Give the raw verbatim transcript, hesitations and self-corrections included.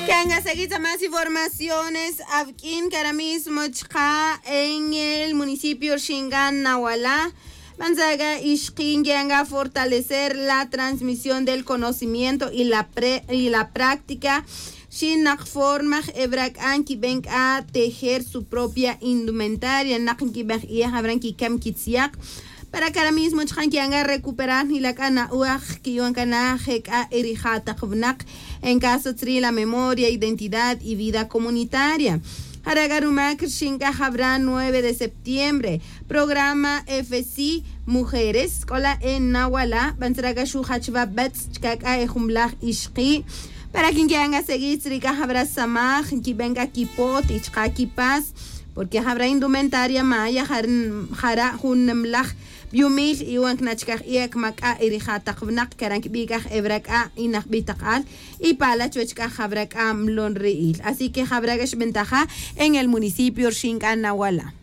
Kanga seguir más informaciones avk'in kara mismo chqa en el municipio rxingan nawala. Banzaga ixqin yanga fortalecer la transmisión del conocimiento y la pre y la práctica. Xinak forma evrak'an kiben k'a tejer su propia indumentaria nak kiben ijabran kikam kitziaq. Para kara mismo chqan kianga recuperar nilak'a na'uaj kiwan kana jek'a erija taq vnaq en caso tzri la memoria identidad y vida comunitaria. Jara' k'a rumak rxin k'a jabra nueve de septiembre programa fc mujeres k'ola' en nawala' bantzra k'a xujachva betz' chka' k'a ejumlaj ixqi'. Para kin ki'an k'a seguir tzri k'a jabra samaj nkiben k'a kipot y chka' kipas porque jabra indumentaria maya jara' jun nemlaj biumil y wan kna' chkaj iek mak'a' y rija' taq vnaq kara' nkibi' k'a jebra k'a' y najbi' taq al y pala' chuwech k'a jabra k'a' mlon ri'il. Así que jabra k'a xbentaja en el municipio rxin k'a nawala'.